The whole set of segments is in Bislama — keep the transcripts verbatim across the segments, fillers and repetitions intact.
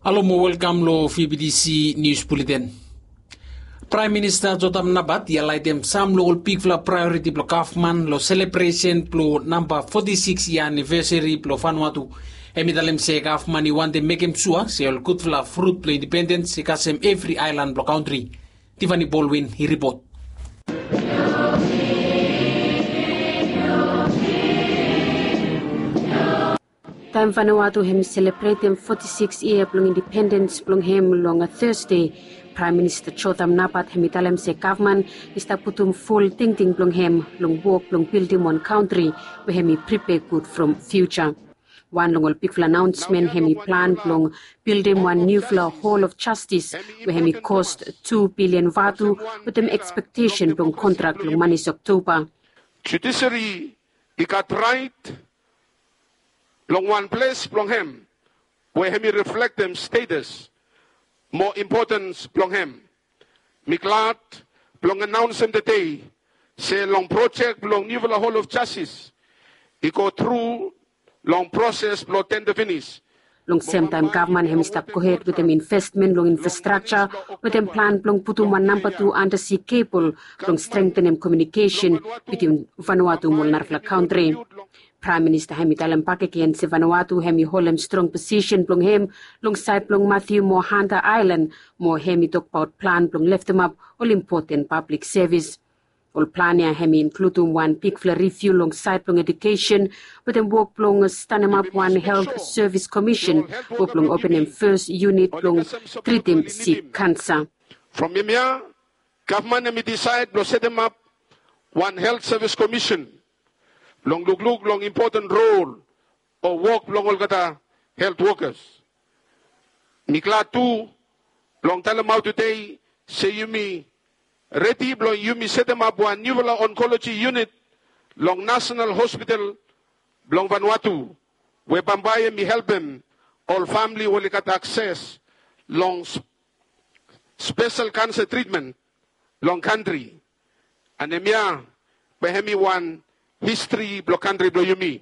Alo mo welkam lo V B T C News Bulletin. Praem Minista Jotham Napat i alaitem sam lo ol bigfala praeoriti blo gavman lo selebresen blo namba foti sikis yia anivesari blo Vanuatu. Hem i talem se gavman i wantem mekem sua se ol gudfala frut blo indipendens i kasem evri aelan blo kantri. Tiffany Baldwin i ripot. Taem Vanuatu hem i selebretem foti sikis yia blong indipendens blong hem long Thursday, Praem Minista Jotham Napat hem i talem se gavman i stap putum ful tingting blong hem long wok blong bildim wan kantri we hem i pripea gud from fiuja. Wan long ol bigfala anaonsmen hem i plan blong bildim wan niufala Hall of Justice we hem i kos tu bilian vatu wetem ekspektesen blong kontrak long manis Oktoba. Judiseri i gat raet long wan ples blong hem we hem i reflektem stetas mo impotens blong hem. Mi glad blong anaonsem tede se long projek blong niufala Hall of Justice i go tru long proses blong tenda finis. Long semtaem gavman hem i stap gohed wetem investmen long infrastrakja wetem plan blong putum wan namba tu andasi kebol blong strengtenem komiunikesen bitwin Vanuatu mo ol narafala kantri. Praem Minista hem i talem bakegen se Vanuatu hem i holem strong posisen blong hem long saed blong Matthew mo Hunter Aelan mo hem i tokbaot plan blong leftemap ol impoten pablik sevis. Ol plan ya hem i inkludum wan bigfala riviu long saed blong ejukesen wetem wok blong stanemap wan helt sevis komisen we blong openem fes yunit blong tritim sik kansa. From hemia gavman hem i disaed blong setemap wan helt sevis komisen blong lukluk long impoten rol o wok blong olgeta helt wokas. Mi glad tu blong talemaot tede se yumi redi blong yumi setemap wan niufala onkoloji yunit long Nasonal Hospital blong Vanuatu we bambae hem i helpem ol famili we oli gat akses long spesel kansa tritmen long kantri. An hemia bae hem i wan histri blong kantri blong yumi.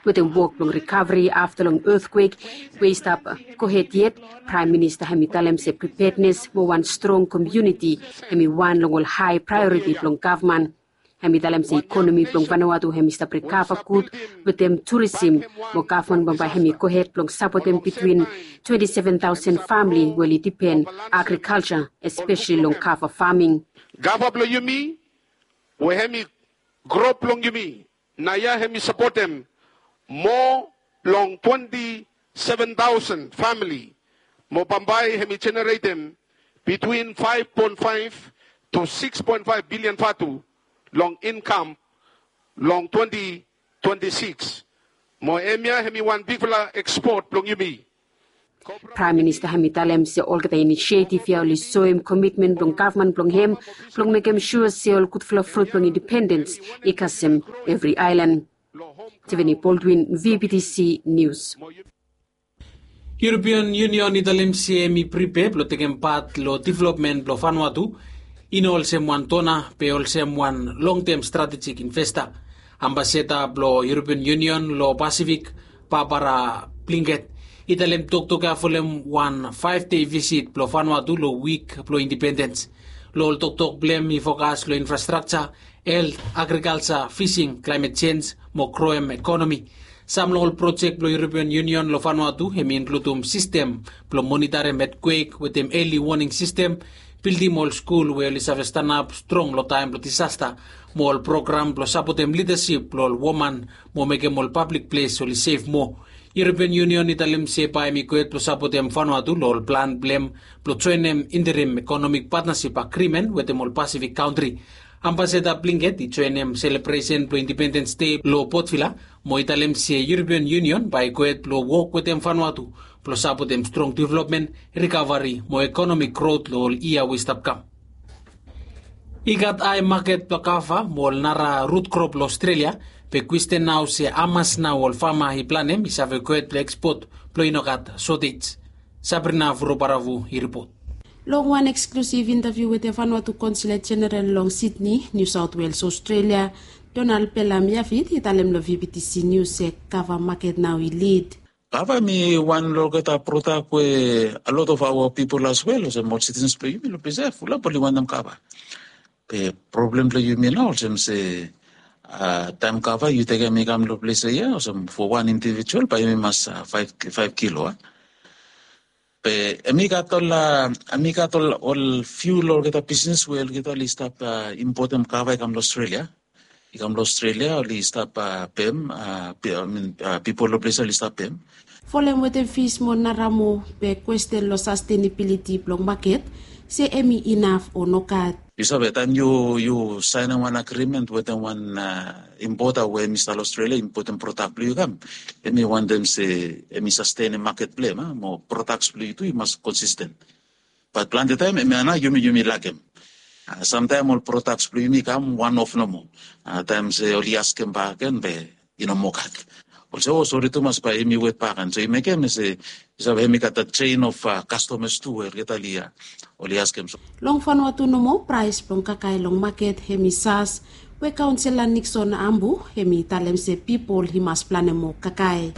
Wetem wok blong rikaveri afta long etkwek we i stap gohed yet, Praem Minista hem i talem se pripednes mo wan strong komiuniti hem i wan long ol hae praeoriti blong gavman. Hem i talem se ikonomi blong Vanuatu hem i stap rikava gud wetem turisim mo gavman bambae hem i gohed blong sapotem bitwin twenti seven taosen famili we oli dipen agrikalja, espeseli long kava faming. Gava blong yumi we hem i gro blong yumi naoia hem i sapotem moa long twenti seven taosen famili mo bambae hem i jeneretem bitwin faef poen faef tu sikis poen faef bilian vatu long inkam long twenti twenti sikis. Mo hemia hem i wan bigfala ekspot blong yumi. Praem Minista hem i talem se olgeta inisietif ya oli soem komitmen blong gavman blong hem blong mekem sua se ol gudfala frut blong indipendens i kasem evri aelan. Tiffany Baldwin, V B T C Nius. European Union i talem se hem i pripea blong tekem pat long developmen blong Vanuatu i no olsem wan dona be olsem wan longtem stratejik investa. Ambasada blong European Union long Pasifik, Barbara Blinket, i talem toktok ya folem wan faef dei visit blong Vanuatu long wik blong indipendens. Long ol toktok blong hem i fokas long infrastrakja, helt, agrikalja, fising, klaemet jenj mo groem ekonomi. Sam long ol projek blong European Union long Vanuatu hem i inkludum sistem blong monitarem etkwek wetem eli woning sistem, bildim ol skul we oli save stanap strong long taem blong disasta, mo ol program blong sapotem lidasip blong ol woman mo mekem ol pablik ples oli sef moa. European Union i talem se bae hem i gohed blong sapotem Vanuatu long ol plan blong hem blong joenem interim ekonomik patnasip agrimen wetem ol Pasifik kantri. Ambasada Blinket i joenem selebresen blong Indipendens Dei long Port Vila mo i talem se European Union bae i gohed blong wok wetem Vanuatu blong sapotem strong developmen, rikavari mo ekonomik grot long ol yia we i stap kam. I gat hae maket blong kava mo ol nara rut krop long Australia, be kwesten nao se hamas nao ol fama i planem i save gohed blong ekspot blong i no gat sotej. Sabrina Vurobaravu i ripot. Long wan eksklusiv intaviu wetem Vanuatu Konsulet Jeneral long Sydney, New South Wales, Australia, Donald Pelam Yafit i talem long V B T C News se kava maket nao i lid. Kava mi wan long olgeta prodak we a lot of our people as well, olsem ol citizens blong yumi long ples ya fulap oli wantem kava. Be problem blong yumi nao olsem se, taem kava yu tekem i kam long ples ya, olsem fo wan individual bae yumi mas faef kilo a. Be em i gat ol, em i gat ol fiu long olgeta bisnes we olgeta oli stap impotem kava i kam long Australia. I kam long Australia oli stap pem, pipol long ples oli stap pem. Folem wetem fis mo naramo, be kwesten long sastenabiliti blong maket, se em i inaf o nogat. Yu save taem yu saenem wan agrimen wetem wan impota we em i stap long Australia, impotem prodak blong yu kam, em i wantem se em i sastenem maket blong em, mo prodaks blong yu tu i mas konsisten. Bat plante taem em ya nao yumi yumi lakem. Samtaem ol prodaks blong yumi kam wan of nomo. Taem se oli askem bak gen be i no moa gat. Olsem o sori tumas bae yumi wet bak gen, so i mekem se yu save em i gat dat chain of kastomas tu we olgeta oli ya, oli askem so. Long Vanuatu nomo praes blong kakae long maket hem i sas, we kaonsela Nixon Ambu hem i talem se pipol i mas planem moa kakae.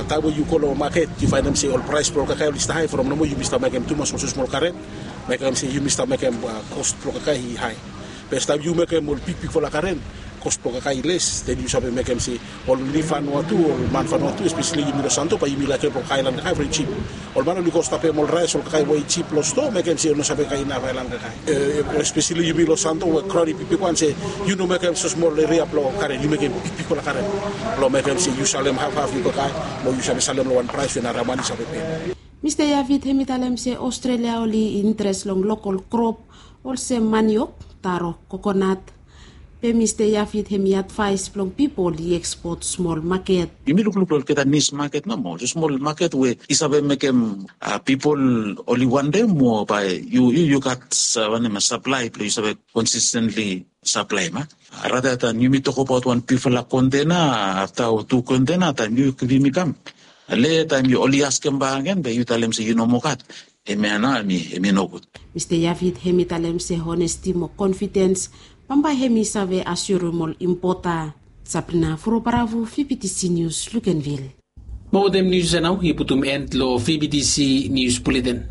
Taem we yu go long maket yu faenem se ol praes blong kakae oli stap hae from nomo yumi stap mekem tumas olsem smol karen, mekem se yumi stap mekem kos blong kakae i hae. Be taem yu mekem ol bigbigfala karen, kos blong kakae i les, den yu save mekem se ol ni Vanuatu, ol man Vanuatu, espeseli yumi long Santo bae yumi laekem blong kakae aelan kakae from jip. Ol man oli go stap pem ol raes ol kakae we i jip long stoa, mekem se oli no save kakae inaf aelan kakae. Espeseli yumi long Santo we kraon i bigbig wan se yu no mekem so smol eria blong karen, yu mekem bigbigfala karen blong mekem se yu salem hafhaf yu kakae, mo yu save salem long wan praes we nara man i save pem. Mista Yafit hem i talem se Australia oli interes long lokol krop olsem maniok, taro, kokonat. Be Mista Yafit hem i advaes blong pipol i ekspot smol maket. Yumi lukluk long olgeta nis maket nomo, olsem smol maket we i save mekem pipol oli wantem, mo bae yu yu gat wanem, saplae blong yu save konsistentli saplaem. Rata taem yumi tokbaot wan bigfala kontena, afta o tu kontena, taem yu givim i kam, le taem oli askem bak gen be yu talem se yu no moa gat, hemia nao hem i nogud. Mista Yafit hem i talem se honesti mo konfidens bambae hem i save asiorem ol impota. Sabrina Furobaravu, V B T C Nius, Lukenvil. Mo wetem nius ya nao i putum en long V B T C Nius Buleten.